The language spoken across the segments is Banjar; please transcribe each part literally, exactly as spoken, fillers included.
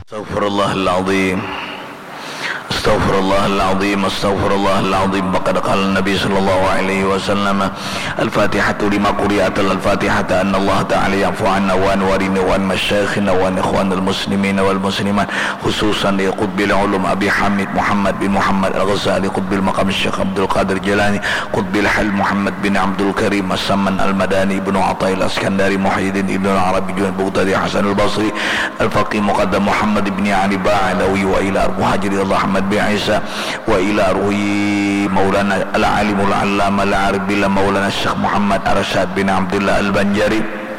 Astaghfirullahaladzim. Astaghfirullahaladzim. Astaghfirullahaladzim. Faqad qala Nabi sallallahu alaihi wasallam, Al-Fatihatu lima quri'at, Al-Fatihata anna Allah Ta'ala ya'fu anna wa an walidina wa an masyayikhina wa an ikhwanil muslimina wal muslimat, khususan li Qutbil Ulum Abi Hamid Muhammad bin Muhammad Al-Ghazali Qutbil Maqam Syekh Abdul Qadir Jailani Qutbil Hal Muhammad bin Abdul Karim As-Samman Al-Madani Ibnu Athaillah Iskandari Muhyiddin Ibnu Arabi Junaid Bughdadi Hasan Al-Basri Al-Faqih Muqaddam Muhammad ibni Ali Ba'alawi wa ila arwah Haji Ridha Ahmad bin Isa wa ila arwah Maulana Al-Alimul Allama Al-Arif Billah Maulana Syekh Muhammad Arsyad bin Abdullah Al-Banjari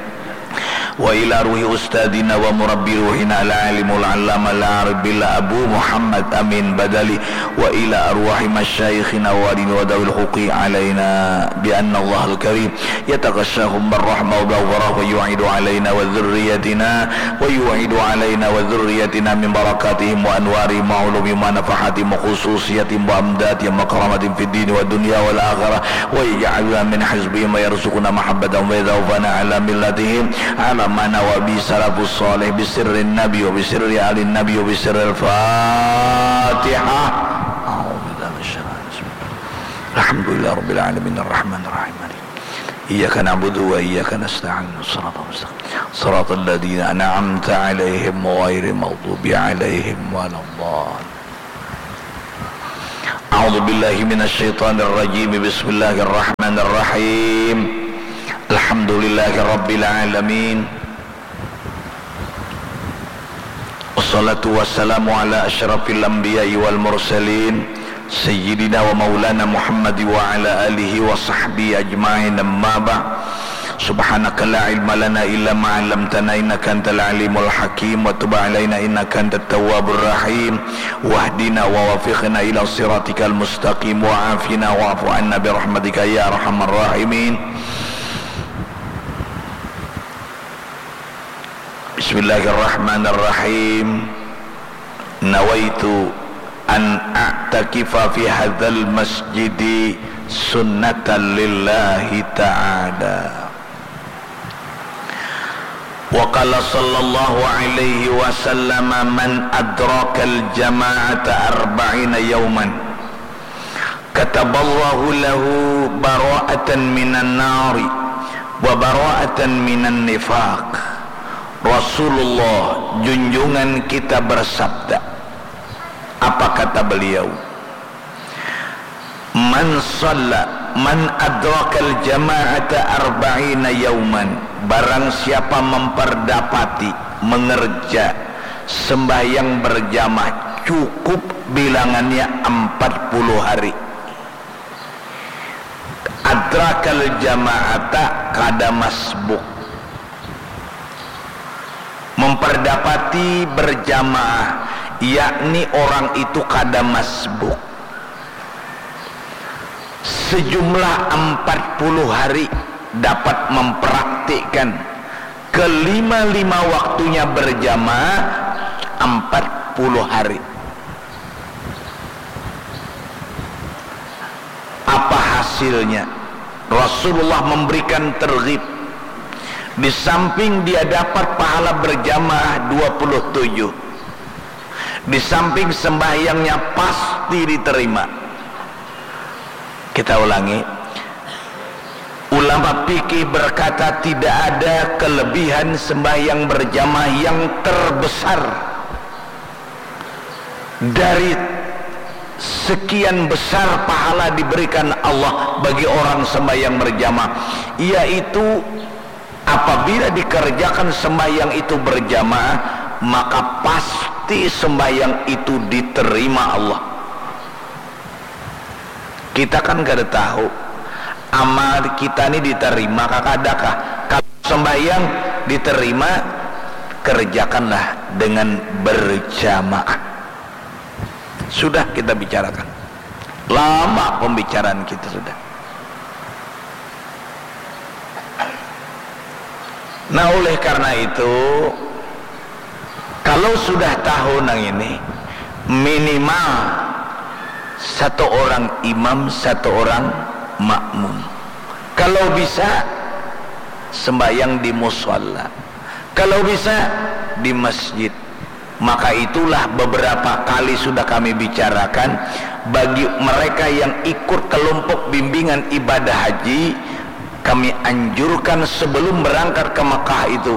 wa ila arwah Ustadzina wa Murabbi Ruhina Al-Alimul Allama Al-Arif Billah Abu Muhammad Amin Badali wa ila arwah masyayikhina wa walidina wa dawil huquqi alaina bi anna Allahal Karim يتغشاهم بالرحمة والمغفرة ويعيد علينا وذريتنا ويعيد علينا وذريتنا من بركاتهم وأنوارهم وعلومهم ونفحاتهم وخصوصياتهم وأمدادهم وكراماتهم في الدين والدنيا والآخرة ويجعلنا من حزبهم ويرزقنا محبتهم ويتوفانا على ملتهم على ما نوى به السلف الصالح بسر النبي وبسر آل النبي وبسر الفاتحة. أعوذ بالله من الشيطان الرجيم. الحمد لله رب العالمين الرحمن الرحيم مالك إياك نعبد وإياك نستعين. الصراط المستقيم. صراط الذين أنعمت عليهم غير المغضوب عليهم ولا الضالين. أعوذ بالله من الشيطان الرجيم. بسم الله الرحمن الرحيم. الحمد لله رب العالمين. Wassalatu wassalamu ala asyrafil anbiya'i wal mursalin, sayyidina wa maulana Muhammad wa ala alihi wa sahbihi ajma'in, amma ba'd. Subhanaka la ilma lana illa ma 'allamtana innaka antal alimul hakim, wa tub alaina innaka antat tawwabur rahim, wahdina wa wafiqna ila siratikal mustaqim, wa afina wa'fu anna bi rahmatika ya arhamar rahimin. Bismillahirrahmanirrahim. Nawaitu an a'takifa fi hadzal masjidi sunnatan lillahi ta'ala. Wa qala sallallahu alaihi wasallam, man adrakal jama'ata arba'ina yauman kataballahu lahu bara'atan minan nari wa bara'atan minan nifaq. Rasulullah junjungan kita bersabda, apa kata beliau? Man shalla, man adrakal jama'ata arba'ina yauman, barang siapa memperdapati, mengerja sembahyang berjamaah cukup bilangannya empat puluh hari. Adrakal jama'ata kada masbuk. Memperdapati berjamaah, yakni orang itu kada masbuk. Sejumlah empat puluh hari dapat mempraktikkan kelima-lima waktunya berjamaah empat puluh hari. Apa hasilnya? Rasulullah memberikan tergib. Di samping dia dapat pahala berjamaah dua puluh tujuh, di samping sembahyangnya pasti diterima. Kita ulangi. Ulama fikih berkata, tidak ada kelebihan sembahyang berjamaah yang terbesar dari sekian besar pahala diberikan Allah bagi orang sembahyang berjamaah, yaitu apabila dikerjakan sembahyang itu berjamaah, maka pasti sembahyang itu diterima Allah. Kita kan kada tahu amal kita ni diterima kah kada kah. Kalau sembahyang diterima, kerjakanlah dengan berjamaah. Sudah kita bicarakan. Lama pembicaraan kita sudah. Nah, oleh karena itu, kalau sudah tahu nang ini, minimal satu orang imam, satu orang makmum. Kalau bisa, sembahyang di musholla. Kalau bisa, di masjid. Maka itulah beberapa kali sudah kami bicarakan, bagi mereka yang ikut kelompok bimbingan ibadah haji, kami anjurkan sebelum berangkat ke Mekah itu,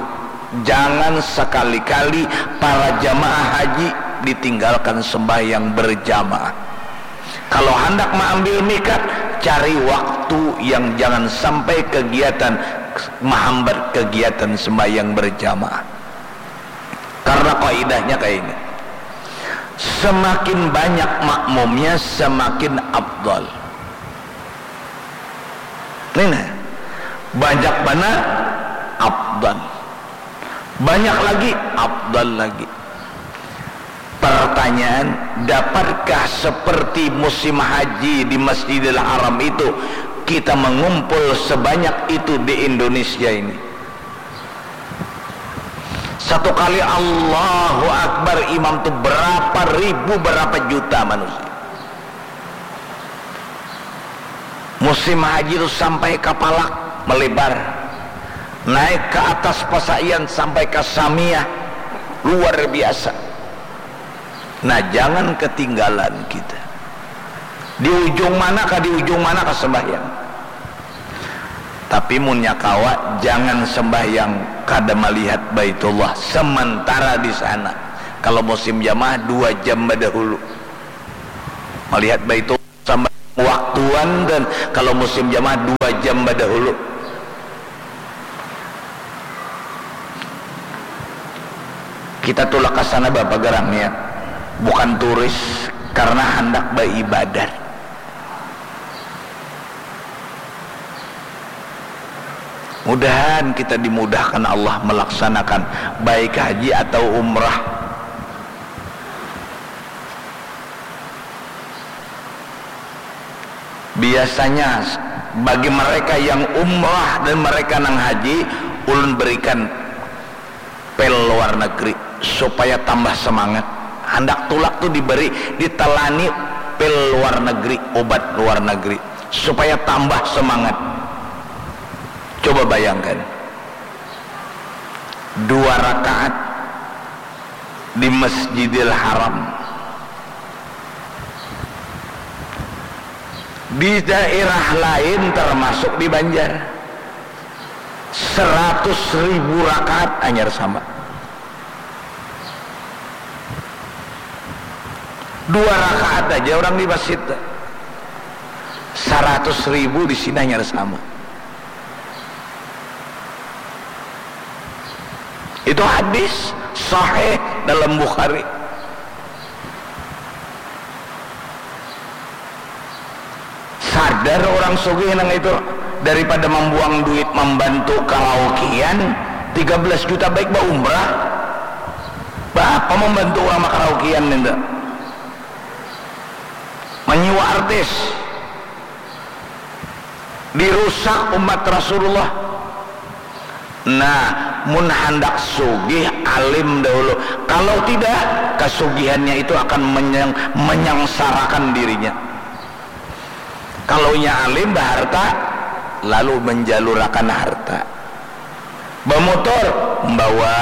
jangan sekali-kali para jamaah haji ditinggalkan sembahyang berjamaah. Kalau hendak mengambil mikat, cari waktu yang jangan sampai kegiatan menghambat kegiatan sembahyang berjamaah. Karena kaidahnya kayak ini. Semakin banyak makmumnya, semakin afdal. Ini nah, banyak mana afdal. Banyak lagi, afdal lagi. Pertanyaan, dapatkah seperti musim haji di Masjidil Haram itu kita mengumpul sebanyak itu di Indonesia ini? Satu kali Allahu Akbar, imam tu berapa ribu, berapa juta manusia. Musim haji tu sampai kapalak melebar, naik ke atas pasaian sampai ke samia, luar biasa. Nah, jangan ketinggalan kita. Di ujung mana kah, di ujung mana kah sembahyang. Tapi munnya kawa, jangan sembahyang kada melihat Baitullah sementara di sana. Kalau musim jamaah, dua jam badahulu melihat Baitullah sama waktuan, dan kalau musim jamaah, dua jam badahulu. Kita tulak ke sana, Bapak, garangnya bukan turis, karena hendak beribadat. Mudahan kita dimudahkan Allah melaksanakan baik haji atau umrah. Biasanya bagi mereka yang umrah dan mereka nang haji, ulun berikan pil luar negeri supaya tambah semangat. Handak tulak tu diberi, ditalani pil luar negeri, obat luar negeri supaya tambah semangat. Coba bayangkan, dua rakaat di Masjidil Haram. Di daerah lain, termasuk di Banjar, seratus ribu rakaat hanyar sama. Dua rakaat aja orang di masjid, seratus ribu di sini hanyar sama. Itu hadis sahih dalam Bukhari. Sadar orang sugih nang itu, daripada mambuang duit mambantu karaokean tiga belas juta, baik baumrah. Baapa mambantu urang makaraokean nintu? Manyiwa artis. Dirusak umat Rasulullah. Nah, mun handak sugih, alim dahulu. Kalau tidak, kasugihannya itu akan menyang-, menyangsarakan dirinya. Kalau nya alim, baharta, lalu menjalurakan harta. Bamotor, membawa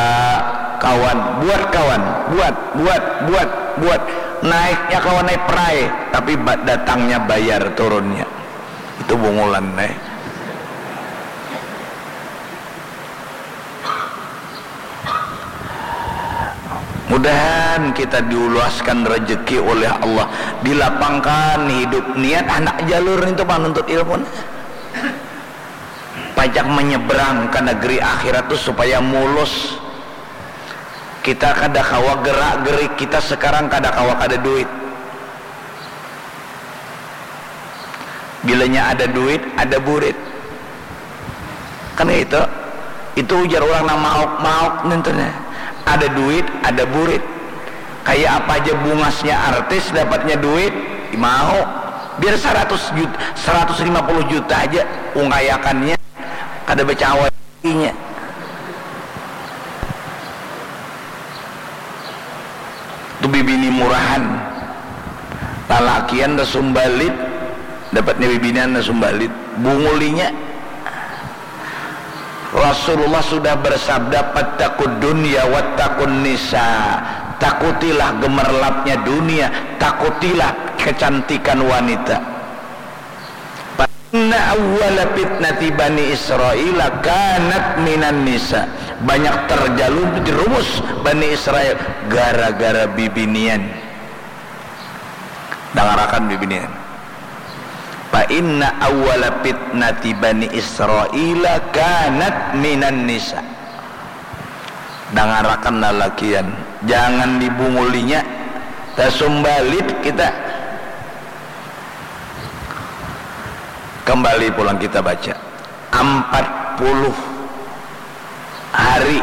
kawan, buat kawan, buat, buat, buat, buat. Naiknya kawan naik perai, tapi ba-, datangnya bayar turunnya. Itu bungulan, eh. Mudahan kita diluaskan rezeki oleh Allah, dilapangkan hidup, niat handak jalur itu panuntut ilmu. Pajak menyeberang ke negeri akhirat tu supaya mulus. Kita kada kawa gerak gerik, kita sekarang kada kawa kada duit. Bilanya ada duit, ada burit. Kan itu, itu ujar orang nang mauk-mauk nintu nih. Ada duit, ada burit. Kayak apa aja bungasnya artis, dapatnya duit, mau. Biar seratus juta, seratus lima puluh juta aja ungkayakannya, kada bacawa inya. Tu bibini murahan. Lalakian tasumbalit, dapatnya bibinian tasumbalit. Bungul inya. Rasulullah sudah bersabda, "Fattaqud dunya wattaqun nisa." Takutilah gemerlapnya dunia, takutilah kecantikan wanita. Fa inna awwala fitnati Bani Israila kanat minan nisa. Banyak terjerumus Bani Israel gara-gara bibinian. Dangarakan bibinian. Fa inna awwala fitnati Bani Israila kanat minan nisa. Dangarakan lalakian, jangan dibungulinya, tasumbalit kita. Kembali pulang kita baca, empat puluh hari.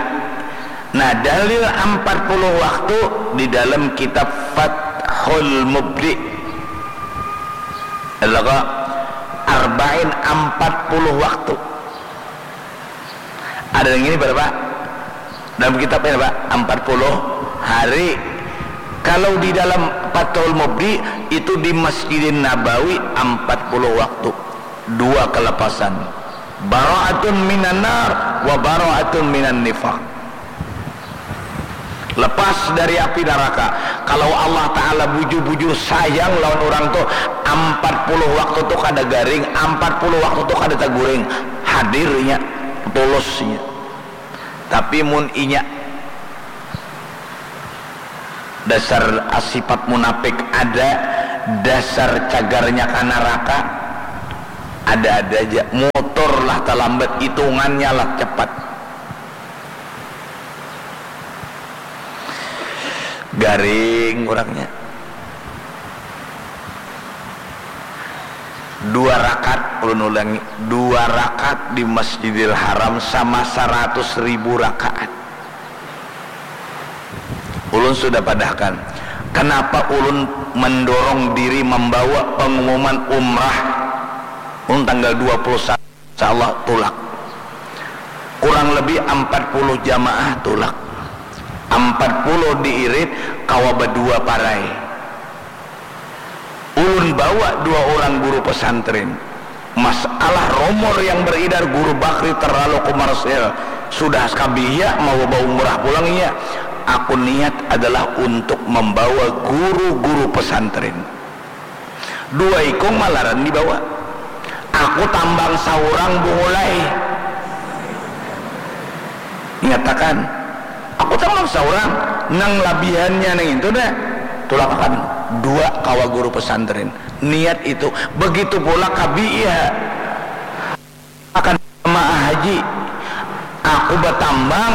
Nah, dalil empat puluh waktu di dalam kitab Fathul Mubdi. Adalah Arba'in empat puluh waktu. Ada yang ini berapa? Dalam kitab ini, Pak, empat puluh hari. Kalau di dalam Fathul Mubdi, itu di Masjidin Nabawi empat puluh waktu. Dua kelepasan. Bara'atun minan nar wa bara'atun minan nifaq. Lepas dari api neraka. Kalau Allah Ta'ala bujur-bujur sayang lawan orang tu, empat puluh waktu tu kada garing, empat puluh waktu tu kada taguring. Hadirnya, tulusnya. Tapi mun inya dasar sifat munafik ada, dasar cagarnya ka naraka ada-ada aja. Motor lah talambat, hitungannya lah cepat. Garing urangnya. Dua rakaat, ulun ulangi, dua rakaat di Masjidil Haram sama saratus ribu rakaat. Ulun sudah padahkan, kenapa ulun mendorong diri membawa pengumuman umrah ulun tanggal dua puluh satu, insya Allah tulak. Kurang lebih empat puluh jamaah tulak. Empat puluh diirit, kawa badua parai. Ulun bawa dua orang guru pesantren. Masalah rumor yang beredar guru Bakri terlalu komersil. Sudah skabia mau baumrah pulang iya. Aku niat adalah untuk membawa guru-guru pesantren. Dua ikung malaran dibawa. Aku tambang saurang bungulai. Nyatakan, aku tambang saurang, nang labihannya nang itu dah. Tulakakan dua kawa guru pesantren. Niat itu. Begitu pula kabi iya. Akan jamaah haji. Aku batambang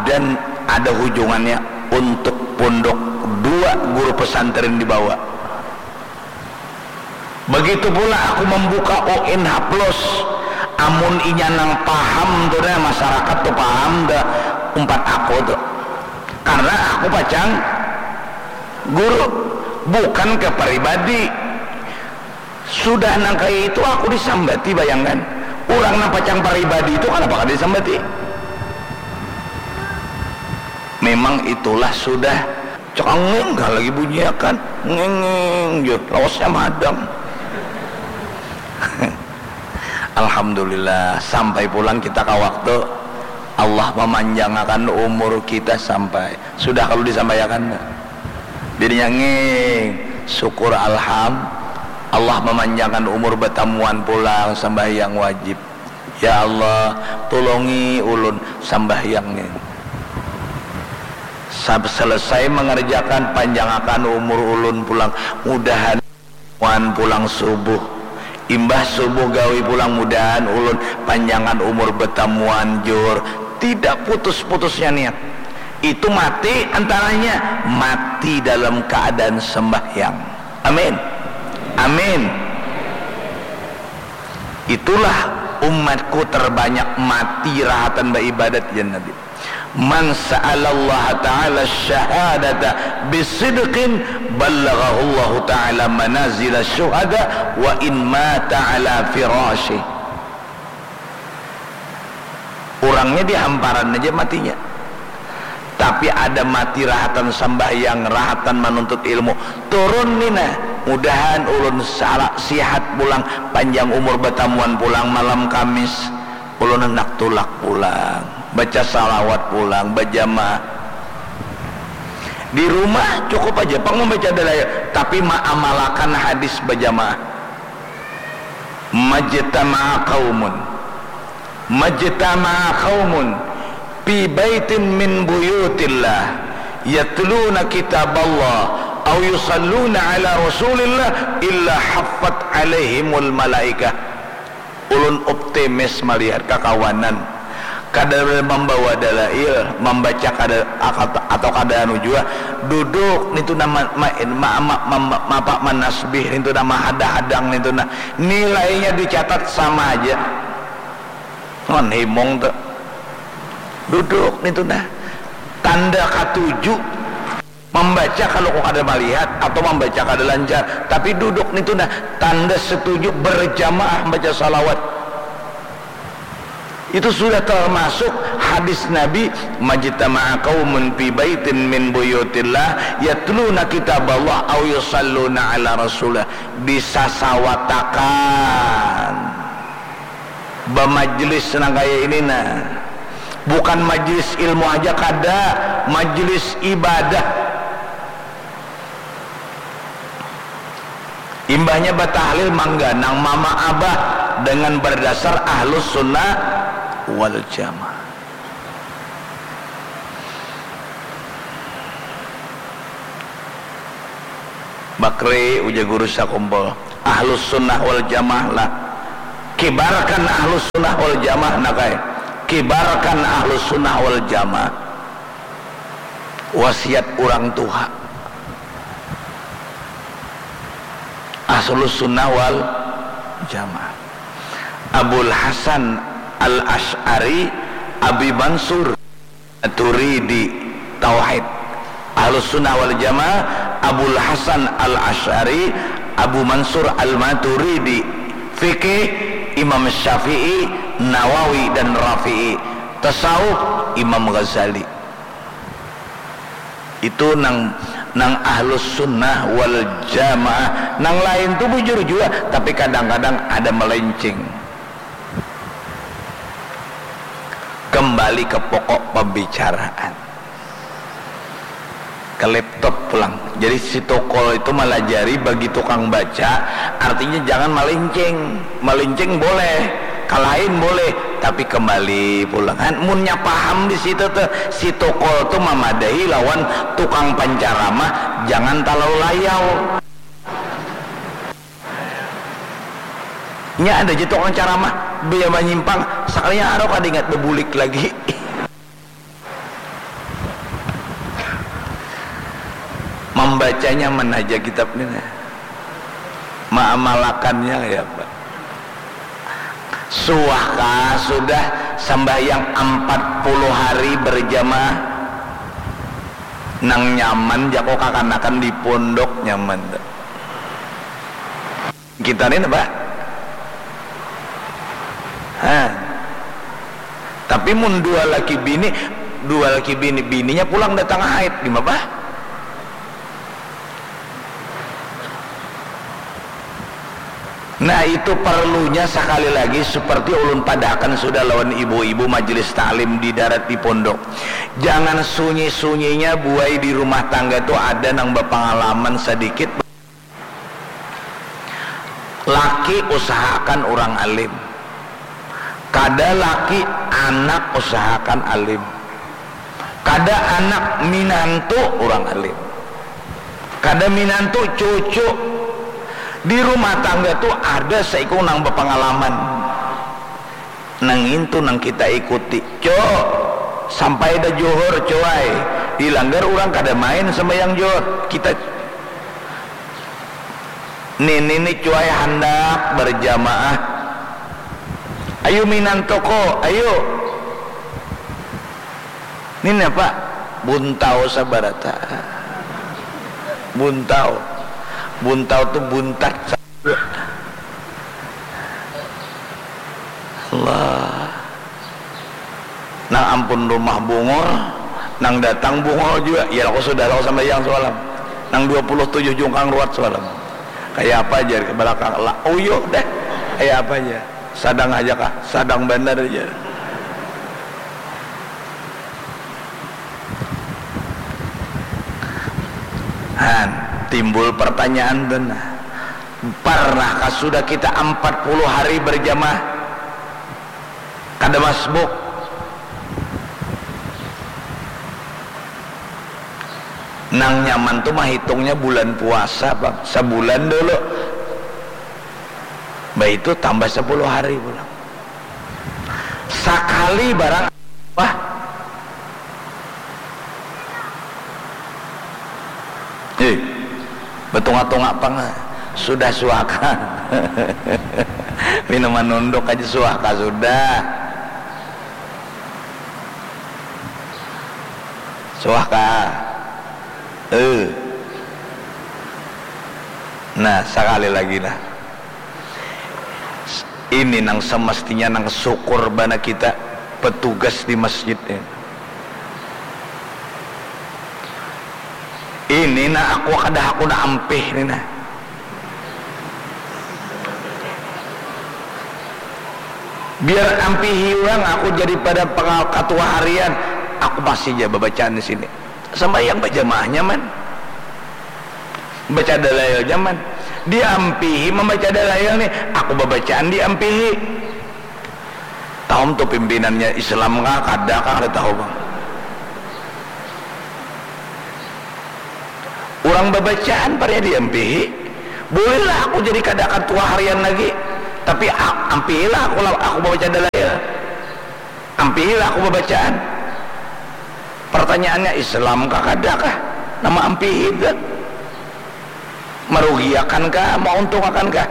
dan ada hujungannya untuk pondok dua guru pesantren dibawa. Begitu pula aku membuka O N H plus. Amun inya nang paham tu dah, masyarakat tu paham dah umpat aku tu. Karena aku pacang guru, bukan ke pribadi. Sudah nang kaya itu aku disambati, bayangkan. Urang nang pacang pribadi itu kanapa kada disambati? Memang itulah sudah. Cekanging kah lagi bunyiakan. Nginging jur. Lawasnya madam. Alhamdulillah, sampai pulang kita ka waktu. Allah memanjangakan umur kita sampai. Sudah kalu disampaiakan. Dirinya nging, syukur alham. Allah memanjangkan umur batamuan pulang sambahyang wajib. Ya Allah, tulungi ulun sambahyang ni. Sab-, selesai mengerjakan, panjangakan umur ulun pulang. Mudahan muan pulang subuh. Imbah subuh gawi pulang, mudahan ulun panjangan umur batamuan jur. Tidak putus-putusnya niat. Itu mati antaranya, mati dalam keadaan sembahyang. Amin. Amin. Itulah umatku terbanyak mati rahatan baibadat, jar Nabi. Man sa'alallaha ta'ala syahadata bisidqin ballaghahullahu ta'ala manazila syuhada wa in mata ala firasyih. Urangnya di hamparan aja matinya. Tapi ada mati rahatan sambahyang, rahatan manuntut ilmu. Turun ni nah, mudahan ulun sala-, sihat pulang, panjang umur batamuan pulang malam Kamis. Ulun handak tulak pulang, baca salawat pulang, bajamaah. Di rumah cukup aja pang membaca dalil, tapi maamalakan hadis bajamaah. Majtama'a qaumun, majtama'a qaumun fi baitin min buyutillah yatluna kitaballah au yusalluna ala rasulillah illa haffat alaihimul malaikah. Ulun optimis malihat kakawanan kada mambawa dalail, mambaca kada atau kada anu jua, duduk nitu nah ma- ma- ma- ma- ma- ma- apa, manasbih nitu nah, mahadang-hadang nitu nah, nilainya dicatat sama haja. Wan himung tu duduk nitu nah, tanda katuju. Mambaca kalu ku kada malihat atau mambaca kada lancar, tapi duduk nitu nah tanda setuju berjamaah baca salawat. Itu sudah termasuk hadis Nabi, "Majtama'a qaumun fi baitin min buyutillah yatluna kitaballah au yusalluna ala rasulillah." Disasawatakan. Bamajlis nang kaya ini nah, bukan majlis ilmu haja kada, majlis ibadah. Imbahnya batahlil mangganang mama abah dengan berdasar ahlus sunnah wal jamaah. Bakri ujar guru sakumpul. Ahlus sunnah wal jamaah lah. Kibarkan ahlus sunnah wal jamaah nak ai. Kibarkan ahlus sunnah wal jamaah. Wasiat urang tuha. Ahlus sunnah wal jamaah. Abul Hasan al Ash'ari, Abi Mansur. Maturidi, tauhid. Ahlus Sunnah wal Jamaah, Abul Hasan Al Asy'ari, Abu Mansur Al Maturidi, fikih, Imam Syafi'i, Nawawi dan Rafi'i, tasawuf, Imam Ghazali. Itu nang nang Ahlus Sunnah wal Jamaah. Nang lain tu bujur jua, tapi kadang-kadang ada melenceng. Kembali ke pokok pembicaraan. Ke laptop pulang. Jadi si tokol itu malajari bagi tukang baca, artinya jangan malincing. Malincing boleh, kalain boleh, tapi kembali pulang. Han, munnya paham di situ tuh, si tokol tuh mamadahi lawan tukang pancaramah, jangan talalu layau. Nya ada ja tukang caramah, baya manyimpang, sakalinya arau kada ingat babulik lagi. Mambacanya nyaman haja kitab ni nah. Maamalakannya kaya apa? Suah kah sudah sambahyang ampat puluh hari berjamaah? Nang nyaman jako kakanakan di pondok nyaman tu. Kita ni napa? Ha. Tapi mun dua laki bini, dua laki bini, bininya pulang datang haid, di mapa? Nah, itu perlunya sekali lagi seperti ulun padahakan sudah lawan ibu-ibu majelis taklim di darat di pondok. Jangan sunyi-sunyinya buai di rumah tangga tu ada nang bapangalaman sedikit. Laki usahakan urang alim. Kada laki, anak usahakan alim. Kada anak, minantu urang alim. Kada minantu, cucu. Di rumah tangga tu ada saikung nang bapangalaman. Nang ngintu nang kita ikuti. Cok, sampai dah juhur, cuai. Di langgar urang kada main sambayang juhur. Kita Nini ni cuai handak berjamaah. Ayu minantu ko, ayu. Nini apa? Buntau sabarata. Buntau. Buntau tu buntat. Allah. Nang ampun rumah bungul, nang datang bungul jua. Ya, aku sudah lalu sambayang semalam. Nang dua puluh tujuh jungkang ruat semalam. Kaya apa jar ke belakang? Lah, uyuh deh. Kaya apa aja? Sadang aja kah? Sadang banar aja. Han, timbul pertanyaan tu nah. Parnahkah sudah kita empat puluh hari berjamaah? Kada masbuk. Nang nyaman tu mahitungnya bulan puasa, Bang. Sabulan dulu. Baitu tambah sepuluh hari pulang. Sakali barang, wah. Eh, betunga-tunga pang. Sudah suaka. Minuman nunduk aja suaka sudah. Suaka. Eh. Nah, sakali lagi nah. Ini nang semestinya nang syukur bana kita petugas di masjid ini. Ini nah aku kada hakuna ampih ni nah. Biar ampihi urang aku jadi pada pengal-, ketua harian, aku masih ja babacaan di sini. Sambayang bajamaah nyaman. Baca dalail nyaman. Diampihi mambaca dalail nih, aku babacaan diampihi. Tahu tu pimpinannya Islam kah, kada kah, kada tahu bang. Urang babacaan parinya diampihi. Bolehlah aku jadi kada ketua harian lagi, tapi a-, ampihilah aku, aku babaca dalail. Ampihilah aku babacaan. Pertanyaannya, Islam kah kada kah? Nama ampihi tu? Marugiakan kah? Mauntungakan kah?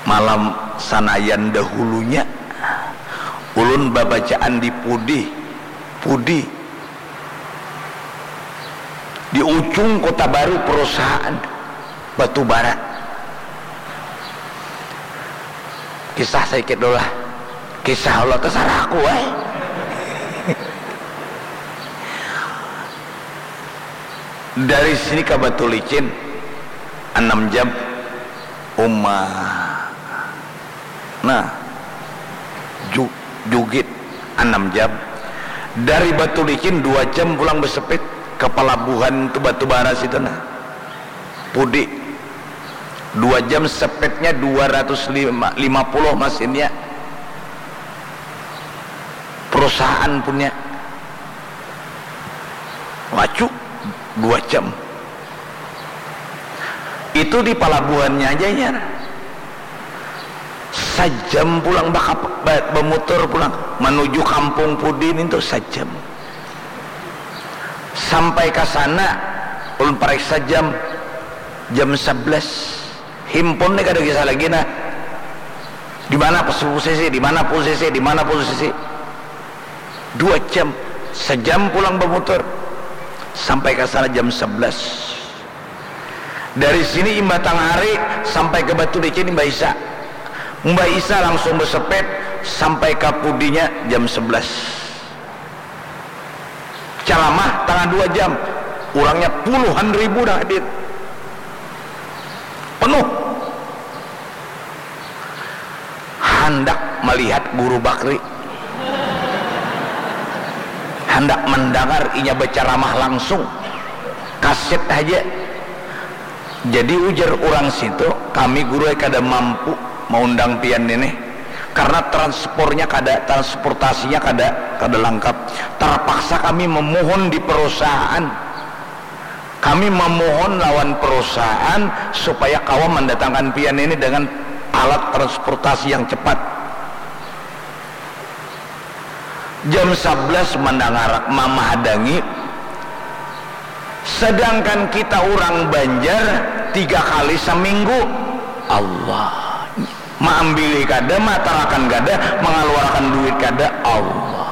Malam sanayan dahulunya, ulun babacaan di pudi, pudi. Di ujung Kota Baru perusahaan batu bara. Kisah sedikit dulu lah. Kisah Allah terserah aku, eh. Dari sini ke Batu Licin enam jam. Uma. Nah, ju-, jugit anam jam. Dari Batu Licin dua jam pulang besepit ke pelabuhan tu Batu Bara situ nah. Pudi. Dua jam sepitnya dua ratus lima puluh masinnya. Perusahaan punya. Laju dua jam. Itu di palabuhannya aja jar. Sajam pulang bakap-, ba-, bamutur pulang manuju kampung pudi nintu sajam. Sampai ka sana ulun pariksa jam, jam sebelas. Himpun ni kada kisah lagi nah. Di mana posisi, di mana posisi, di mana posisi. Dua jam, sajam pulang bamutur. Sampai ka sana jam sebelas. Dari sini imbah tangah hari sampai ke Batu Licin imbah Isa. Imbah Isa langsung besepit sampai ka pudinya jam sebelas. Calamah tangah dua jam, urangnya puluhan ribu dah hadir. Penuh. Handak malihat Guru Bakri. Handak mandangar inya bacaramah langsung. Kaset haja. Jadi ujar urang situ, kami guru ai kada mampu maundang pian ini. Karena transpornya kada, transportasinya kada, kada langkap. Terpaksa kami memohon di perusahaan. Kami memohon lawan perusahaan supaya kawa mendatangkan pian ini dengan alat transportasi yang cepat. Jam sebelas mendengar mamahadangi, sedangkan kita urang Banjar tiga kali seminggu. Allah. Maambili kada, maatarakan kada, mangaluarakan duit kada, Allah.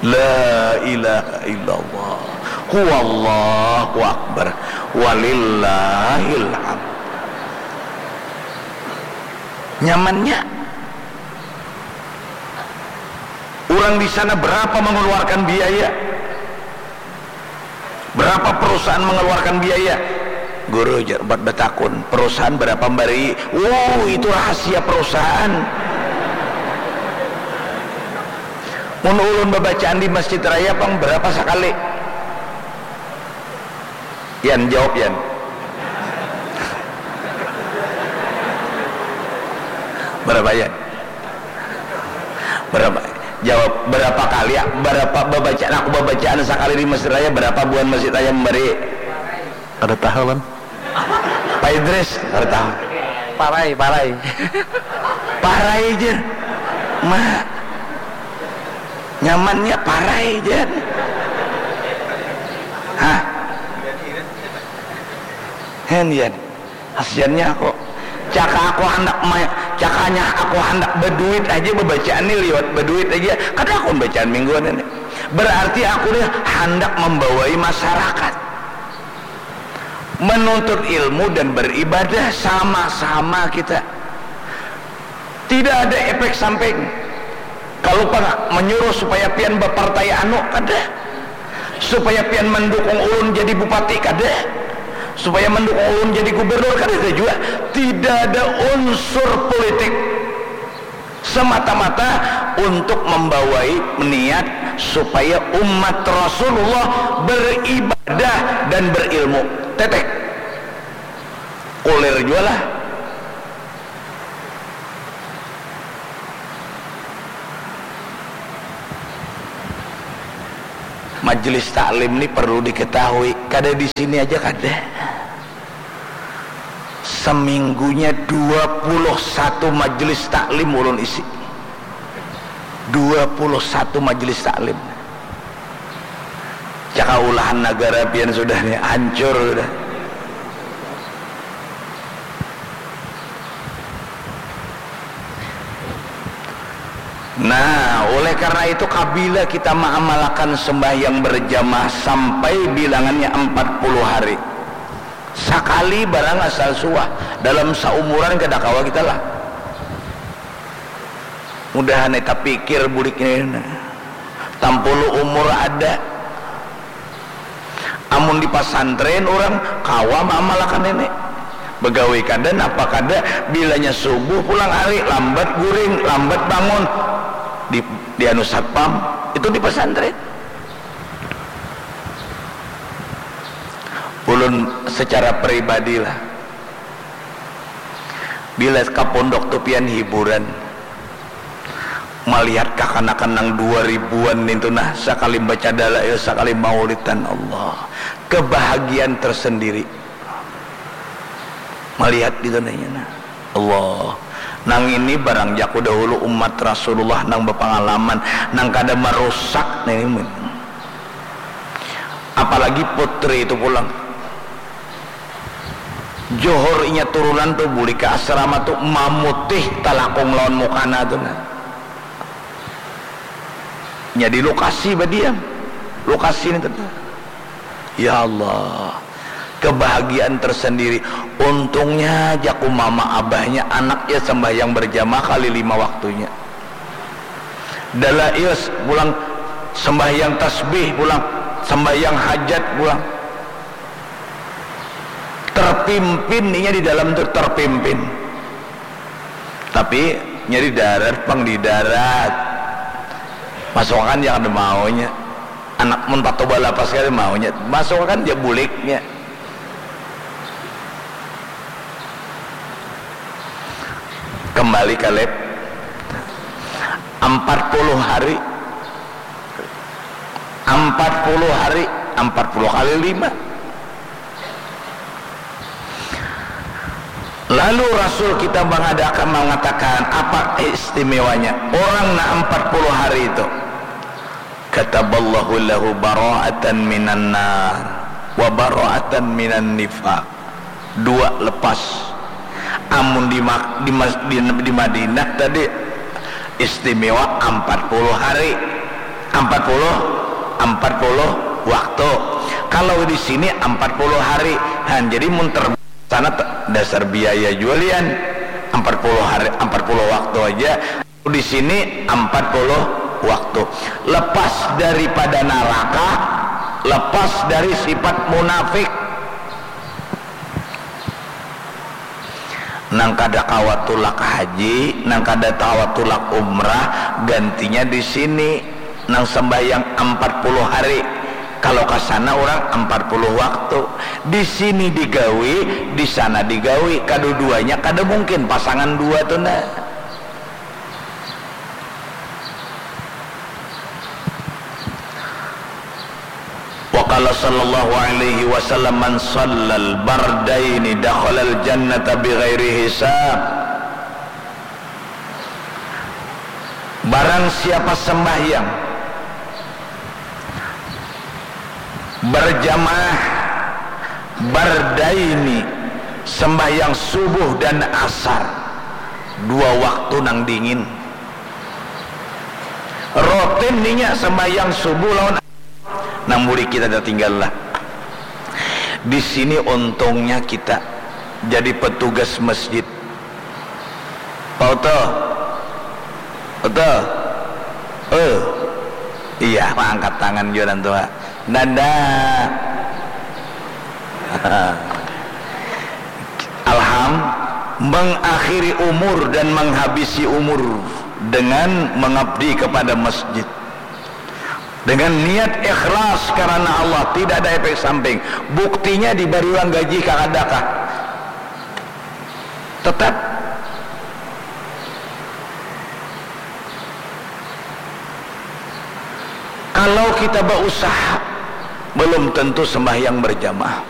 La ilaha illallah. Huwallahu akbar. Walillahil hamd. Nyamannya. Urang di sana berapa mengeluarkan biaya? Berapa perusahaan mengeluarkan biaya? Guru, jar umpat batakun, perusahaan berapa memberi? Wow, itu rahasia perusahaan. Mun ulun babacaan di masjid raya pang berapa sakali? Yan, jawab Yan. Berapa Yan? Berapa? Jawab, berapa kali ya? Berapa babacaan aku babacaan sakali di masjid raya, berapa buhan masjid raya memberi? Kada tahu kan? Pak Idris, kada tahu. Parai, parai. Parai je. Ma. Nyamannya parai je. Hah? Hen, Yan. Hasiannya aku. Caka aku handak ma-, cakanya aku handak beduit aja, bebacaan nih liwat beduit aja. Kada aku bacaan mingguan ini. Berarti aku nih handak membawai masyarakat menuntut ilmu dan beribadah sama-sama kita. Tidak ada efek samping. Kalau pang menyuruh supaya pian bepartai anu, kada. Supaya pian mendukung ulun jadi bupati, kada. Supaya mendukung ulun jadi gubernur, kada ada juga. Tidak ada unsur politik. Semata-mata untuk membawai niat supaya umat Rasulullah beribadah dan berilmu. Tetek. Kulir jualah. Majelis taklim ni perlu diketahui, kada di sini aja kada. Seminggunya dua puluh satu majelis taklim ulun isi. Dua puluh satu majelis taklim. Caka ulahan nagara pian sudah ni, hancur sudah. Nah, oleh karena itu, kabila kita maamalakan sembahyang berjamaah sampai bilangannya empat puluh hari, sakali barang asal suah, dalam saumuran kada kawa kita lah. Mudahan kita pikir bulik ini, nah. Tampulu umur ada. Amun di pasantren urang kawa maamalakan ini. Begawi kada, napa kada, bilanya subuh pulang hari, lambat guring, lambat bangun. Di, di anu satpam, itu di pasantren. Ulun secara pribadi lah, bila ka pondok tu pian hiburan. Malihat kakanakan nang dua ribuan nintu nah, sakali baca dalail, sakali maulidan, Allah, kebahagiaan tersendiri. Malihat gitu nanya nah, Allah, nang ini barang jaku dahulu umat Rasulullah nang bapangalaman, nang kada marusak nah ini. Apalagi putri itu pulang. Johor inya turunan tu bulik ka asrama tu mamutih talakung lawan mukana tu nah. Nya di lokasi badiam. Lokasi ni tadi. Ya Allah, kebahagiaan tersendiri. Untungnya jaku mama abahnya anaknya sembahyang berjamaah kali lima waktunya. Dalail pulang, sembahyang tasbih pulang, sembahyang hajat pulang. Terpimpin inya di dalam tu terpimpin. Tapi nya di darat pang di darat. Masuakan ja kada maunya. Anak mun patoba lapas kada maunya. Masuakan ja buliknya. Kembali ka lab. Empat puluh hari. Empat puluh hari, empat puluh kali lima. Lalu Rasul kita mengadakan, mengatakan apa istimewanya orang nak empat puluh hari itu? Kataballahu lahu bara'atan minan nar wa bara'atan minan nifaq. Dua lepas. Amun di, di, di Madinah tadi istimewa empat puluh hari, empat puluh, empat puluh waktu. Kalau di sini empat puluh hari, nah, jadi mun ter sana dasar biaya jualian empat puluh hari, empat puluh waktu aja. Di sini empat puluh waktu. Lepas daripada naraka, lepas dari sifat munafik. Nang kada kawa tulak haji, nang kada kawa tulak umrah, gantinya di sini. Nang sembahyang empat puluh hari, kalau ka sana urang empat puluh waktu. Di sini digawi, di sana digawi, kaduduanya kada mungkin pasangan dua tu nah. Wa qala sallallahu alaihi wasallam, "Man shallal bardaini dakhalal jannata bighairi hisab." Barang siapa sembahyang berjamaah bardaini, sembahyang subuh dan asar, dua waktu nang dingin, rutin ninya sembahyang subuh lawan nang murid kita tatinggal lah. Di sini untungnya kita jadi petugas masjid. Pak Uto, Uto, eh, iya, angkat tangan jua orang tua. Nanda. Alham, mengakhiri umur dan menghabisi umur dengan mengabdi kepada masjid. Dengan niat ikhlas karena Allah, tidak ada efek samping. Buktinya dibari uang gaji kah ada kah? Tetap. Kalau kita berusaha, belum tentu sembahyang berjamaah.